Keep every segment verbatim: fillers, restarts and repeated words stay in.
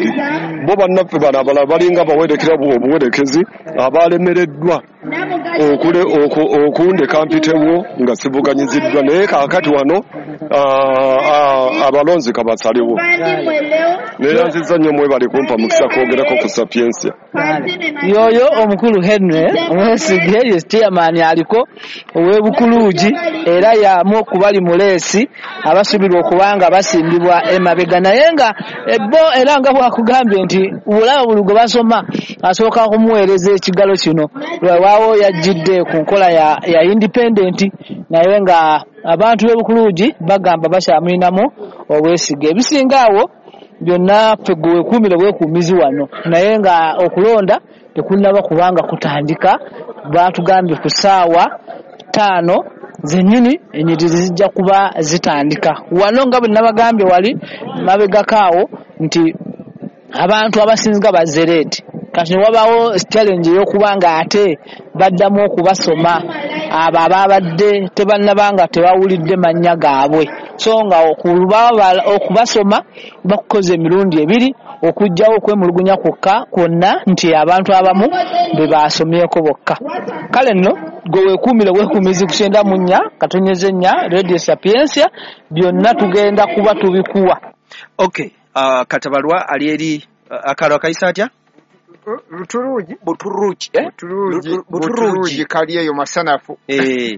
Land. Bo bannaffe bano abalala balinga bawerekera obuwerekezi abalemereddwa okundeka mpitewo nga sivuganyiziddwa, naye kaakati wano abalonzi kabasaliwo. Neeyanzizza nnyo, mwebale kumpa mukisa kwogerako ku Sapiensia. Yoyo omukulu Henry Omwesige ye chairman aliko ow'Ebukuluugi, era y'amu okubali mu leesi abasuubirwa okubanga basimbibwa emabega, naye nga bo era nga bwakugambye nti bulaba buli gwe basoma asooka kumuweereza ekigalo kino. Lwewaawo yajjidde ku nkola ya, ya independent, naye nga abantu b'Ebukuluugi bagamba bakyamulinamu obwesige. Ebisinga awo byonna ffe gwe weekuumire bwekuumizi wano, naye nga okulonda tekunnaba kubanga kutandika. Baatugambye ku ssaawa ttaano zennyini ennyiriri zijja kuba zitandika wano, nga bwe nabagambye wali mabegako awo nti abantu abasinga bazzereeti. Kati ne wabaawo challenge ey'okuba nga ate baddamu okubasoma abo ababadde tebannaba nga tebawulidde mannya gaabwe, so nga okubasoma bakukoze emirundi ebiri, okuggyawo okwemulugunya kwokka kwonna nti abantu abamu be basomyeko bokka. Kale nno gwe weekuumire bwekuumizi ku kyenda mu nnya katonyeze nnya Radio Sapiensia, byonna tugenda kuba tubikuwa. Okay, uh, Katabalwa ali eri uh, akalo akayisa atya? Buturuugi Buturuugi eh? Buturuugi Buturuugi kali eyo masanafu eh.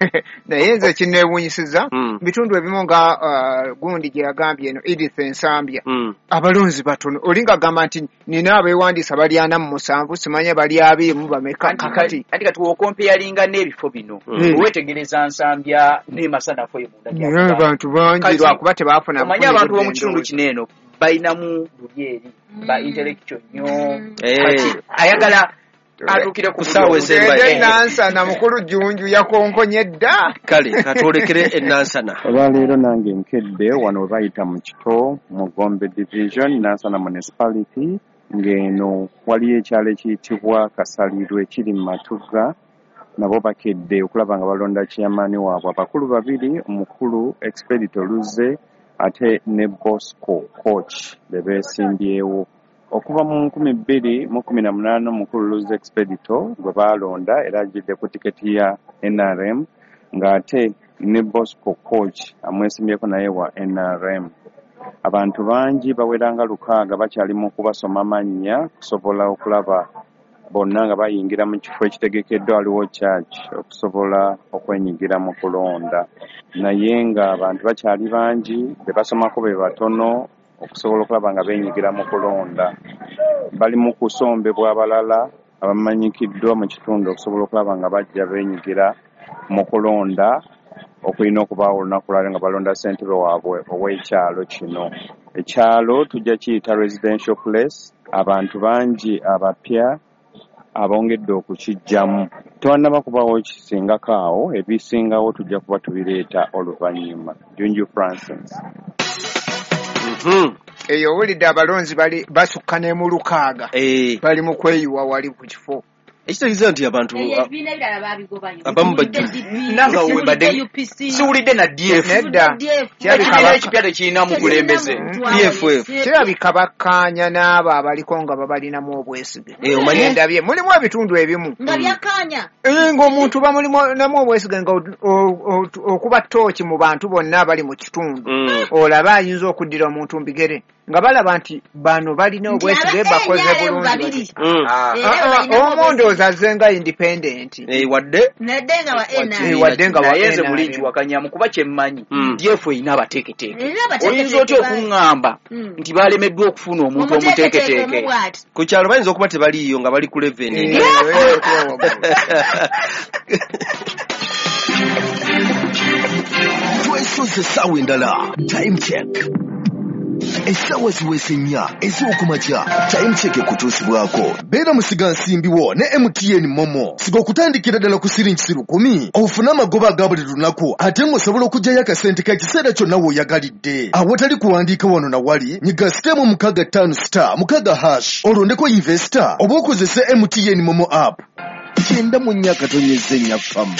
Naye nze kinneewuunyisizza mm. bitundu ebimu nga uh, gundi gye yagambye eno Edith Ensambya mm. abalonzi batono, olinga agamba nti nina abeewandiisa bali ana mu musanvu, simanya bali abiri mu bameka. Kakati anti kati w'okompeyalinga n'ebifo bino mm. weetegereza Nsambya ne Masanafu eyo munda gya abantu bangi lwakuba tebaafuna. Omanyi abantu b'omu kitundu kino eno balinamu luli eri ba intellectual nnyo, kati ayagala atuukire ku ssaawa esembayo. Enansana mukulu Jjunju yakonkonye dda. Kale katwolekere Enansana. Olwaleero nange nkedde wano we bayita mu Kito mu Gombe Division, Nansana Municipality, ng'eno waliyo ekyalo ekiyitibwa Kasalirwe ekiri mu Matugga. Nabo bakedde okulaba nga balonda chairman waabwe, abakulu babiri, omukulu Expedito Luzze ate ne Bosco Coach be beesimbyewo. Okuva mu nkumi bbiri mu kumi na munaana omukulu Luzze Expedito gwe baalonda era ajjidde ku tiketi ya N R M, ng'ate ne Bosco Coach amwesimbyeko naye wa N R M. Abantu bangi bawera nga lukaaga bakyali mu kubasoma mannya kusobola okulaba bonna nga bayingira mu kifo ekitegekeddwa waliwo church okusobola okwenyigira mu kulonda, naye nga abantu bakyali bangi be basomako be batono okusobola okulaba nga beenyigira mu kulonda. Bali mu kusombebwa abalala abamanyikiddwa mu kitundu okusobola okulaba nga bajja beenyigira mu kulonda okulina okubaawo olunaku lwaleero nga balonda ssentebe waabwe ow'ekyalo kino. Ekyalo tujja kiyita residential place, abantu bangi abapya abongedde okukijjamu. Tewannaba kubaawo kisingako awo, ebisingawo tujja kuba tubireeta oluvannyuma. Junju Francis. Mm-hmm. Eyo owulidde abalonzi bali basukka ne mu lukaaga eh. bali mu kweyiwa wali ku kifo. Ekitegeeza nti abantu abamu nanga webadde siwulidde na D F nedda, ekibiina ekipya tekirina mukulembeze D F F kirabika bakkaanya n'abo abaliko nga babalinamu obwesige. Ndabye mulimu ebitundu ebimu nga byakkaanya ng'omuntu bamulinamu obwesige nga okuba ttooki mu bantu bonna abali mu kitundu, olaba ayinza okuddira omuntu mbigere nga balaba nti bano balina obwesige bakoze bulungi. Omu ndowooza azze nga independent wadde wadde nga naye nze muli nkiwakanyamu kuba kyemmanyi D F erina abateeketeeke. Oyinza otya okuŋŋamba nti balemeddwa okufuna omuntu omuteeketeeke? Ku kyalo bayinza okuba tebaliiyo nga bali ku leveni. Twesoze essaawa endala. Time check. Essaawa ziwese nnya ez'okumakya. Time check ekutuusibwako. Beera musigansimbi wo ne M T N Momo. Siga okutandikira ddala ku siringi lukumi ofune amagoba aga buli lunaku, ate ng'osobola okuggyayo akasente ka kiseera kyonna w'oyagalidde. Awatali kuwandiika wano na wali, nyiga star mu mukaaga ttaano star mukaaga hash olondeko investor oba okozese M T N Momo app. Kyenda mu nnya katonyeze nnya fama.